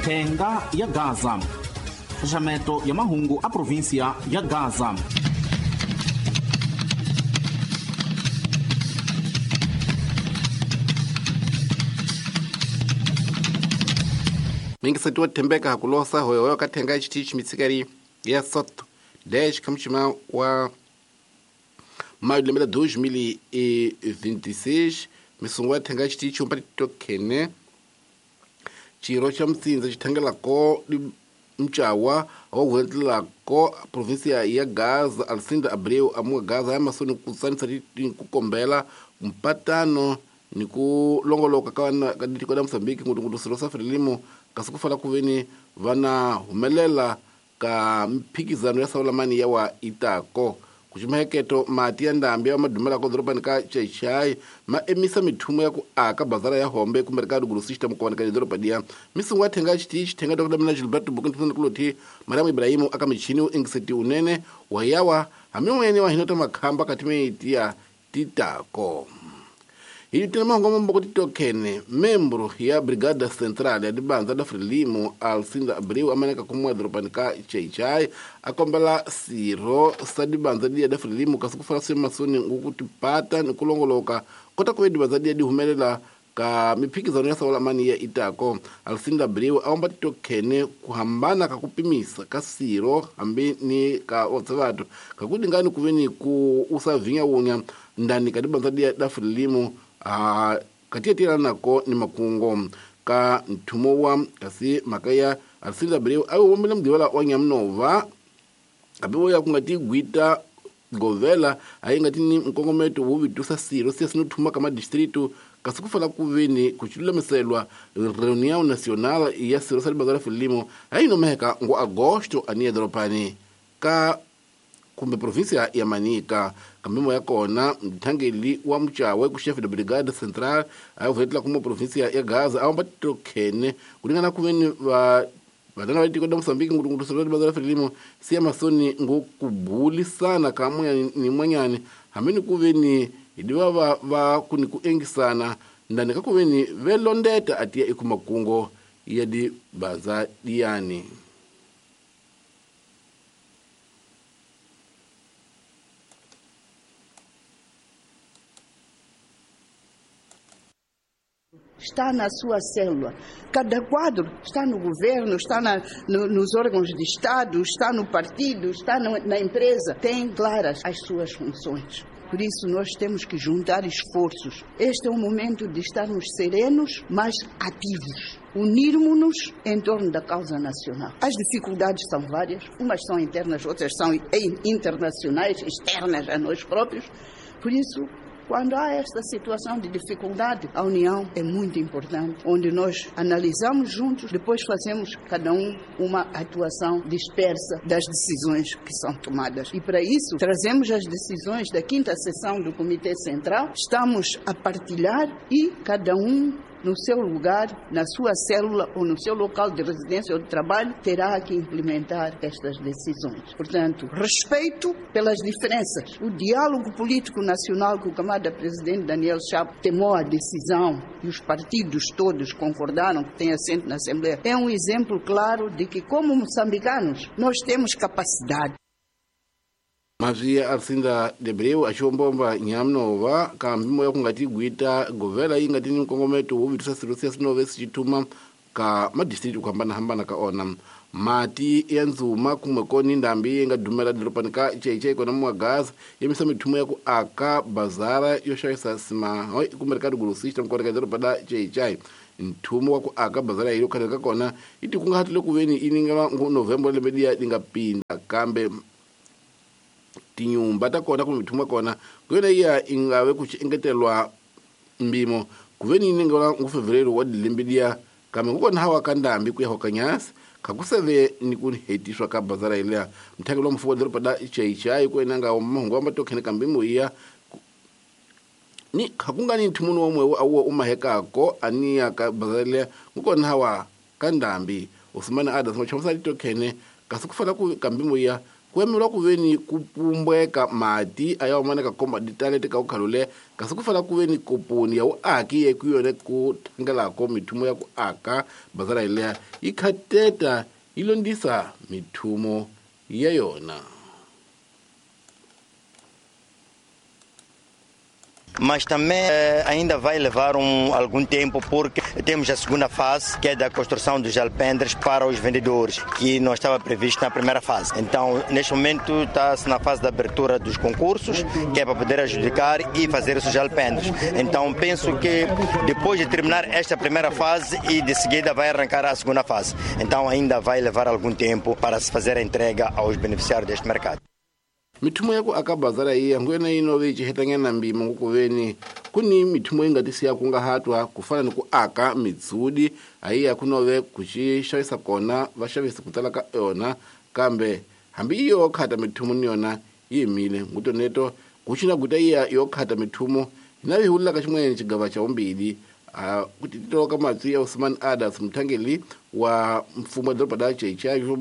Thenga ya Gaza. Xaxameto ya mahungu a província ya Gaza. Mingisati wa thembeka hakulosa hoyohoyo ka thenga ya xitichi mitsikari ya soto 10 kamuchima wa maio lembe la 2026 misungu ya thenga ya xitichi umpati tokhene xirho xa mutsinza xi thangelako mcawa wa huwetelako província ya Gaza Alcinda Abreu amuka Gaza ya masoni ku tsanisa ku kombela mpatano ni ku longoloka ka ka tiko la Mozambique ngopfungopfu swirho swa Frelimo kasi ku fana ku veni va na humelela ka mphikizano ya Saulamani ya wa Itako. Ku ximaheketo mati ya ndhambi ya madumelako dorobani ka Chechai ma emisa mithumo ya ku aka bazara ya Hombe kumbe ka Lugulu system ku ka doroba dia misungu ya thenga xitichi thenga Dr. Mina Gilberto Bukuntu kuloti Mariam Ibrahimu aka michini u ingiseti unene wa yawa hamimwene wa hinota makhamba katimeti ya titako. Hi mahungu mambo titokhene membro ya Brigada Central ya dibanza da Frelimo Alcinda Abreu amaneka kumwa dorobani ka Chechai akombela sirho sa dibanza diya da Frelimo kasi ku fana swi masoni ngukutipata ni ku longoloka kota ku ve dibanza diya di humelela ka miphikizano ya Saulamani ya Itako. Alcinda Abreu a omba titokhene ku hambana ka ku pimisa ka sirho hambi ni ka otsevato kakudingani ku ve ni ku usavinyawunya ndani ka dibanza diya da Frelimo katiyetela nako ni makungo ka nthumo wa kasi mhaka ya Alcinda Abreu a wombile mugqivela wa Nyamunova hambi wo ya ku nga ti gwita govela a yi nga ti ni nkongometo wo vitusa sirho se sino thuma ka madistritu kasi ku fana ku veni ku xilulamiselwa reunião nacional ya sirho sa libanza la Frelimo a yi nomeka ngo agosto aniya doropani ka kumbe província ya Manica. Kambimo ya kona mthangeli wa mchawe ku chef de brigade central a vuhetela kuma província ya Gaza a tokhene ku ringana ku veni va vatana va tiko la Mozambique ngopfungopfu sirho la Frelimo siya masoni ngo ku bulisana ka mwanyani ni mwanyani hambi ni ku veni hi diva va ku ni ku engisana ndani ka ku veni velondeta atiya ekumakungo ya dibanza diyani. Está na sua célula. Cada quadro está no governo, está nos órgãos de Estado, está no partido, está na empresa. Tem claras as suas funções. Por isso nós temos que juntar esforços. Este é o momento de estarmos serenos, mas ativos. Unirmos-nos em torno da causa nacional. As dificuldades são várias, umas são internas, outras são internacionais, externas a nós próprios. Por isso, quando há esta situação de dificuldade, a união é muito importante, onde nós analisamos juntos, depois fazemos cada um uma atuação dispersa das decisões que são tomadas. E para isso, trazemos as decisões da 5ª sessão do Comitê Central, estamos a partilhar e cada um no seu lugar, na sua célula ou no seu local de residência ou de trabalho, terá que implementar estas decisões. Portanto, respeito pelas diferenças. O diálogo político nacional que o camarada presidente Daniel Chapo tomou a decisão e os partidos todos concordaram que tem assento na Assembleia, é um exemplo claro de que, como moçambicanos, nós temos capacidade. Mavia Alcinda Abreu axiwombomba Nyamunova ka mpimo ya ku nga ti gwita govela yi nga ti ni nkongometo wo vitisa swirho siya swinove swi ka madistrikti ku hambanahambana ka ona. Mati ya ndzuma kumwe koni ndhambi yi nga dumela doropani ka Chechei kona muwa Gaza yimisa mithumo ya ku aka bazara yo xavisa sima kumbe ka Lugulu system kona ka doroba la Chechei. Nthumo wa ku aka bazara yi khale ka kona yi tikunguhatile ku veni yi ningela ngo November lembe liya li nga pinda kambe tinyumba ta kona kumbe mithumo ya kona ku yona iya i nga ve ku xi engetelwa mpimo ku ve ni ningelwa ngo Fevereiro wa lembe liya kambe ku kona hawa ka ndhambi ku ya hokanyasi khakuseve ni ku hetiswa ka bazara yeliya. Mthangeli wa mfumo wa doroba la Chechai ku ena nga mahungu wa matokhene ka mpimo iya ni khakunga ni nthumuni wa mwewu awuwa u mahekako aniya ka bazara yeliya ku kona hawa ka ndhambi Usmani Adams machamusa litokhene kasi ku fana ku ka mpimo iya ku Ku yemeriwa ku veni ku pumbweka mati a ya humaneka komba ditalete ka ukhalule kasi ku fana ku veni koponi ya vuaki ye ku yone ku thangelako mithumo ya ku aka bazara yeleya yi khateta yi londisa mithumo ya yona. Mas também ainda vai levar algum tempo, porque temos a segunda fase, que é da construção dos alpendres para os vendedores, que não estava previsto na primeira fase. Então, neste momento, está-se na fase da abertura dos concursos, que é para poder adjudicar e fazer esses alpendres. Então, penso que depois de terminar esta primeira fase e de seguida vai arrancar a segunda fase. Então, ainda vai levar algum tempo para se fazer a entrega aos beneficiários deste mercado. Mithumo ya ku aka bazara iya nguyena yi nove yi cihetanyana mbima ngukuveni ku ni mithumo yi nga tisiya ku nga hatwa ku fana ni ku aka mitsudi ayiya ku nove ku xi xavisa kona va xavisi ku tala ka yona kambe hambi yi yo khata mithumo ni yona yi yimile ngutoneto ku xina guta iya yo khata mithumo hina vi hulaka xin'wanyana xigava xa vumbili ku titoloka matsi ya Usman Adas muthangeli wa mfumo wa doroba da Xai-Xai xo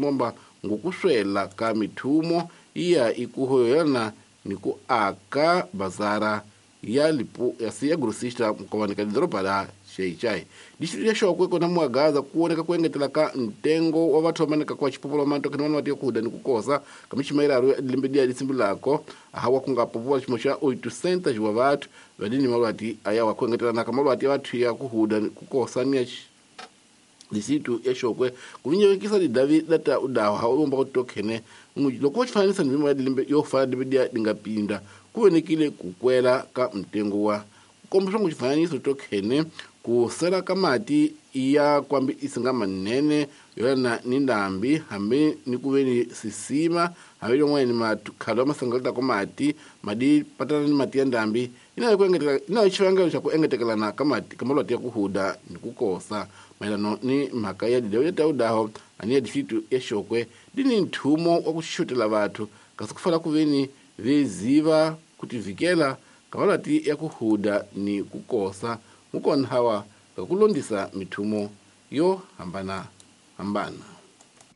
ngokuswela ka mithumo iya ikuhoyana ni ku aka bazara ya lipu ya siya grosista mkovani ka doroba la Xai-Xai. Distrito ya Xokwe kona muagaza kuoneka kuengetela ka ntengo wa vathu vamaneka kwa xipopolo manto kene vana vatiya kuhuda ni kukosa ka miximairaro ya lembe liya lisimbulako hawa kunga popola ximo xa 800 wa vathu vadini malwati aya wa kuengetelana ka malwati ya vathu ya kuhuda ni kukosa ni ya distrito ya Xokwe kuvinyekisa lidavi lata udawa hawu kutokhene loko xifananisa ni mimwa ya lembe yo fana lembe liya lingapinda kuvenekile kukwela ka mtengo wa kombisa ku xifananiso tokhene ku sela ka mati ya kwambi isinga manene yona ni ndambi hambi ni ku veni sisima hambi lomwe ni makhalo masangalata ko mati madi patana ni mati ya ndambi ina ku engetela ina xivangelo xa ku engetekelana ka mati ka malwati ya ku huda ni ku kosa mayelano ni mhaka ya didawu ya tawudaho ani ya distrito ya Xokwe di ni nthumo wa ku xutela vathu kasi ku fana ku veni veziva ku tivikela ka malwati ya ku huda ni ku kosa mukona hawa ka ku londisa mithumo yo hambana hambana.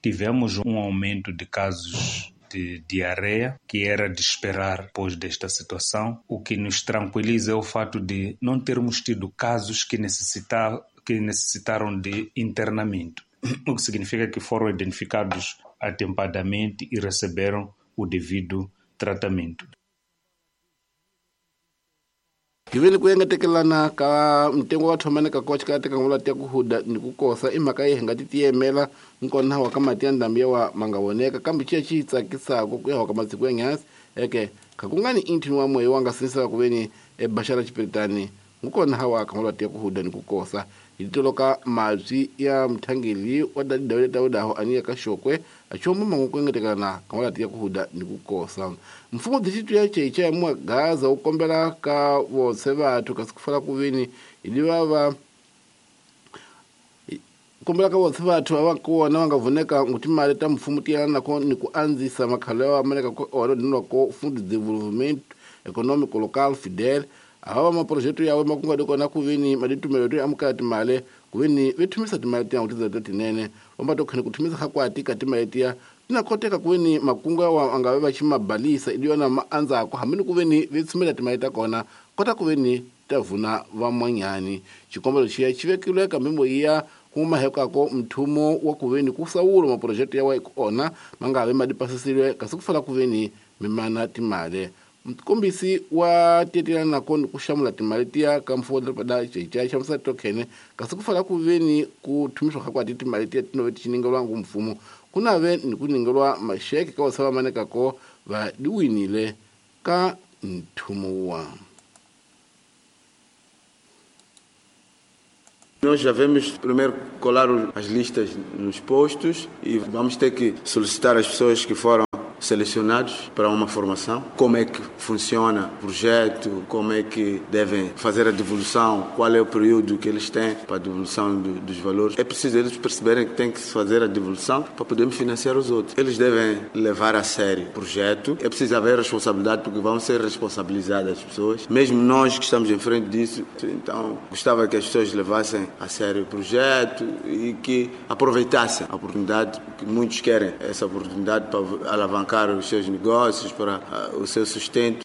Tivemos aumento de casos de diarreia, que era de esperar depois desta situação. O que nos tranquiliza é o fato de não termos tido casos que necessitaram de internamento, o que significa que foram identificados atempadamente e receberam o devido tratamento. Hiveni ku engetekelana ka mtengo wa thomaneka kwa xikateka ngolati ya ku huda ni ku kosa i mhaka yi hi nga ti tiyemela nkona wa ka mati ya ndhambi ya wa ma nga voneka kambe xiya xi tsakisaka ku ya wa ka masiku ya nghasi eke kha ku nga ni inthini wa moya wa nga sinisaka ku veni ebaxara xipiritani ngukona hawa ka malwati ya ku huda ni ku kosa hi toloka mabyi ya muthangeli wa dawile tawudaho ani ya ka Xokwe achomo mangu ku engetekelana ka malwati ya ku huda ni ku kosa. Mfumo distrito ya Xai-Xai ya Muagaza wu kombela ka votse vathu kasi ku fana ku veni hi va kombela ka votse vathu va kona va nga vuneka ngu timali ta mfumo ti yelana nako ni ku andzisa makhalo ya maneka ko ona dinwa ko Fundo de Desenvolvimento Econômico Local Fidel ava maprojeto yawe makunga kona ku veni maditumelo to amukela timali ku veni ve thumisa timali tiya ngutiza ta tinene vamba to khene ku thumisa kha kwati ka timali tiya tina koteka ku veni makunga wa anga va xi mabalisa idi yona ma andzako hambi ni ku veni ve tshumela timali ta kona kota ku veni ta vuna van'wanyani. Xikombelo xiya xi vekilwe ka mimbo ya kuma hekako mthumo wa ku veni ku sawula maprojeto yawe kona ma nga ve ma dipasisile kasi ku fana ku veni mimana timali. Mkombisi wa tietelana nako ni ku xamula timali tiya ka mfumo wa doroba da Xai-Xai xamusa tokhene kasi ku fana ku veni ku thumiswa kha kwati timali tiya tinove ti xiningelwa ngu mfumo ku na ve ni ku ningelwa maxeke ka vasava manekako va diwinile ka nthumo wa. Nós já vamos primeiro colar as listas nos postos e vamos ter que solicitar as pessoas que foram selecionados para uma formação, como é que funciona o projeto, como é que devem fazer a devolução, qual é o período que eles têm para a devolução dos valores. É preciso eles perceberem que tem que se fazer a devolução para podermos financiar os outros. Eles devem levar a sério o projeto. É preciso haver responsabilidade, porque vão ser responsabilizadas as pessoas, mesmo nós que estamos em frente disso. Então, gostava que as pessoas levassem a sério o projeto e que aproveitassem a oportunidade, porque muitos querem essa oportunidade para alavancar alavancar os seus negócios, para o seu sustento.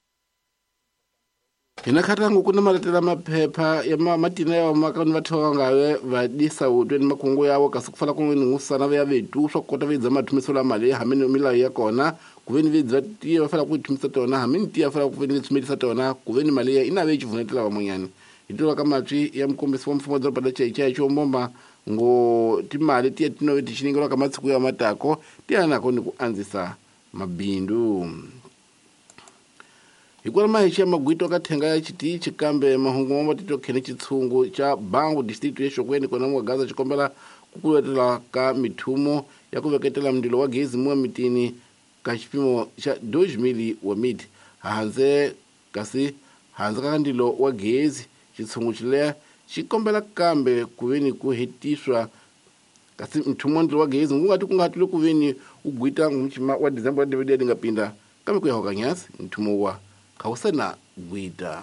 Hina khatangu ku na maletela maphepha ya matina ya maka ni vathiwa ngave va disa utweni makungu yawo kasi ku fana ku ni ngusana ya vetu swa kota vidza mathumiso la mali hamini milawu ya kona ku ve ni vidza tiya va fanele ku thumisa tona hamini tiya fanele ku ve ni tsumelisa tona ku ve ni mali ya ina ve chivunetela van'wanyana hi tiva ka matwi ya mukombisi wa mfumo wa doroba la Chaichai Chombomba ngo timali tiya tinove tichiningelwa ka matsiku ya matako tiya nako ni ku andzisa mabindu. Hikwalaho mahexe ya magwito ka thenga ya xitichi kambe mahungu ma tito khene xitshungu xa Bangu district ya Xokweni kona mwa Gaza xikombela ku kuvetela ka mithumo ya ku veketela mundilo wa gezi muwa mitini ka xipimo xa 2000 wa miti handze kasi handze ka ndilo wa gezi xitshungu xileya xi kombela kambe ku veni ku hetiswa kasi mthumo wa ndilo wa gezi wu nga ti ku nga tile ku veni wu gwita ngumchima wa December wa DVD nga pinda kambe ku ya hoka nyasi mthumo wa khawusena gwita.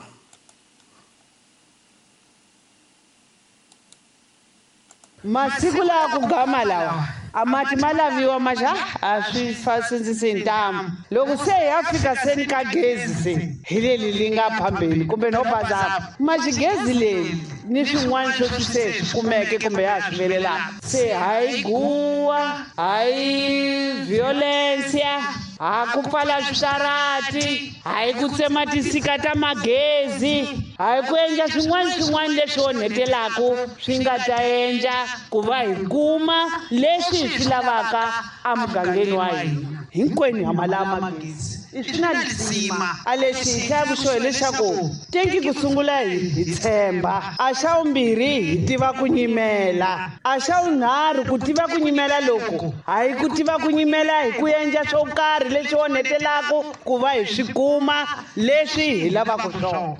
Masiku lawa ku gama lawa a mati ma laviwa maxa a swi fasindzisi ntamu loko se ya fika seni ka gezi se hi leli li nga phambeni kumbe no bazapa maxigezi leri ni swin'wana swo swi se swi kumeke kumbe ya swi velelaka se hayi guwa hayi violencia ha ku pfala switarati hayi ku tsema tisika ta magezi hayi ku endla swin'wana swin'wana leswi onhetelaku swi nga ta endla ku va hi kuma leswi hi swi lavaka emugangeni wa hina hinkwenu ha ma lava magezi i swi na lisima a lexi hi hlayaku xo hileswaku tenki ku sungula hi tshemba a xa vumbirhi hi tiva ku nyimela a xa vunharhu ku tiva ku nyimela loku hayi ku tiva ku nyimela hi ku endla swo karhi leswi onhetelaku ku va hi swi kuma leswi hi lavaka swona.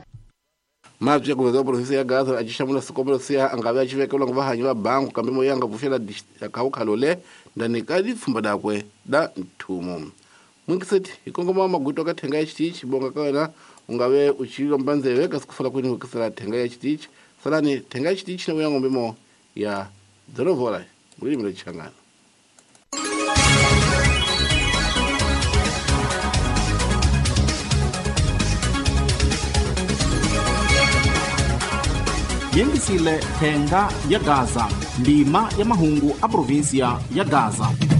Mabyi ya kuveza provinsi ya Gaza a xamula sikombelo siya a nga ve a xi vekelwa ngo vahanyi va bangu kambe moya nga pfuxela khawukhalole ndani ka lipfhumba dakwe da nthumo. Mwingiseti hi kongoma magwito ka thenga ya xitichi bonga ka wena u nga ve u xi lomba ndzeve kasi ku fala kwini hokisela thenga ya xitichi salani thenga ya xitichi na vuya ngombe mo ya dzolovola mulimi la Changana. Yengisile thenga ya Gaza ndima ya mahungu a provinsia ya Gaza.